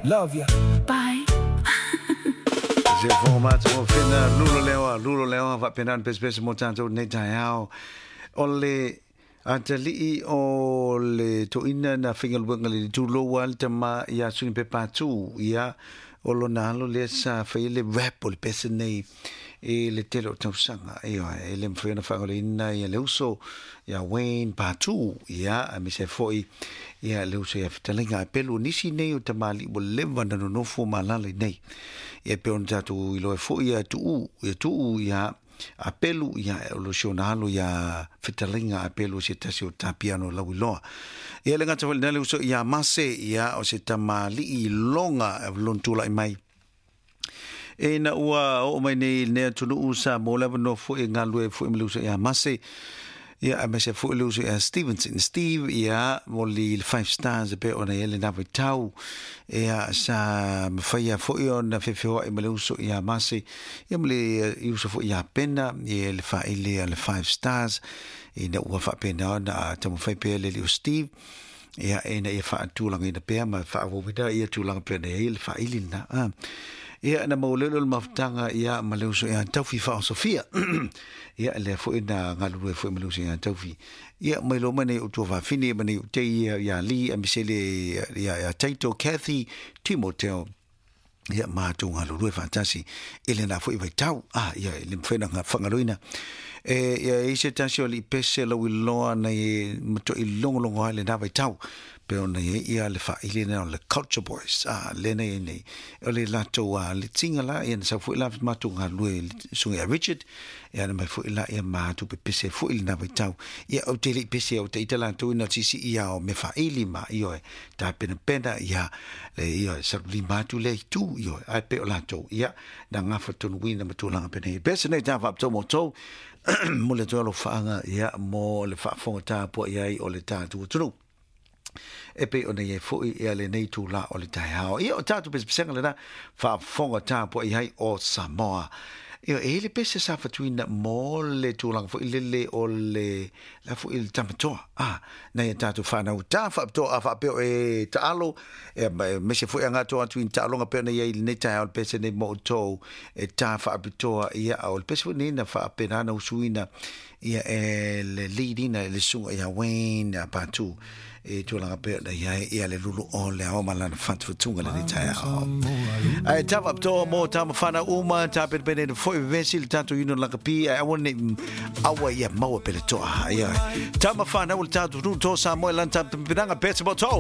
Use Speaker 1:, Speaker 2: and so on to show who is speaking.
Speaker 1: Love ya.
Speaker 2: Bye.
Speaker 3: Se fongo mātu o whina, lulo leoa, lulo leoa, whapenan pespese mo tātou nei taeao. O le atalii o le toina na fingaluenga le tuloua le tama ia suni pe pātū, ia o lona alo lea sa whai le rap o le pese nei e le tele o tausaga, ia e le mawhai ona whaangoleina ia le uso ia Wayne Pātū, ia a me se foi ia le uso ia fitalinga a pelu nisi nei o tamali ua leva na nonofo malala nei. Ia pe ona tātou iloa foi ia tuu, ia tuu ia a pelu ia o lo si ona alo ia fitalinga a pelu se tasi o tapiano lau iloa. Ia le ngata foi le uso ia Mase ia o se tamali i longa lon tula i mai. E na ua o mai nei nea tunu sa mo leva no foi ngā lue foi me le uso ia Mase. Ia a mese foi le uso ia Stevenson Steve ia mo li 5 stars e pe ona ele na tau ia sa mawhaia foi ona whewhewa i me le uso ia Mase ia mo le i uso foi ia Pena ia le whaile a le 5 stars i na ua whapena ona a tamawhai pe le o Steve ia e na ia whaatulanga ina pea ma whaawawina ia tūlanga pea na ia le whaili na. Ia na maulelo le mafutanga ia ma le uso ia taufi wha o Sofia. Ia le foi na ngalue foi ma le uso ia taufi. Ia mai lo mane o tua whawhine mane o te ia ia Lee a misele ia ia Taito Kathy Timoteo. Ia mātou ngalue whantasi. Ele na foi vai tau. Ah, ia le mwhena ngā whangaloina. E ia i se tasi o li pese lau i loa na i mato i longo longo ai le nā vai tau. Pe ona ia ia le whaile na o le Culture Boys. Ah, le nei nei. O le lato a le tinga la, ia na sa fui la mātou ngā lue sunga ia Richard. Ia na mai fui la ia mātou pe pese fui le nā vai tau. Ia o te li pese o te ita lato ina sisi ia o me whaili ma ia e tā pena pena ia le ia sa li mātou le tu ia ai pe o lato. Ia na ngā whatonu wina matulanga pene. Pese nei tā whapito mō tau. Mo le tualo whaanga ia mo le whaafonga tāpua ia i o le tātua tunu. E pe ona ia foi ia le nei tū la o le taihao. Ia o tātou pesepesenga le na whaafonga tāpua i hai o Samoa. Ia e le pese sa whatuina mo le tūlanga foi lele o le la foi le tamatoa. Ah, na ia tātou whanau tā whaapitoa a whaapeo e taalo. E mese foi a ngātoa atu i taalonga pe ona ia i le nei taihao le pese nei mo tō e tā whaapitoa ia o le pese foi nei na whaapenana usuina ia e le leadina le sunga ia Wayne a Pātū. E tūlanga pea na ia ia le lulu o le ao malana whatuwhatunga le nei taeao. Ai tāwa aptoa mō tā mawhana uma, tā pene pene foi vesi le tātou ino lakapi, ai awa nei awa ia maua pele toa. Ia, tā mawhana o le tātou tū tō Samoa lan tā pinanga pese mo tō.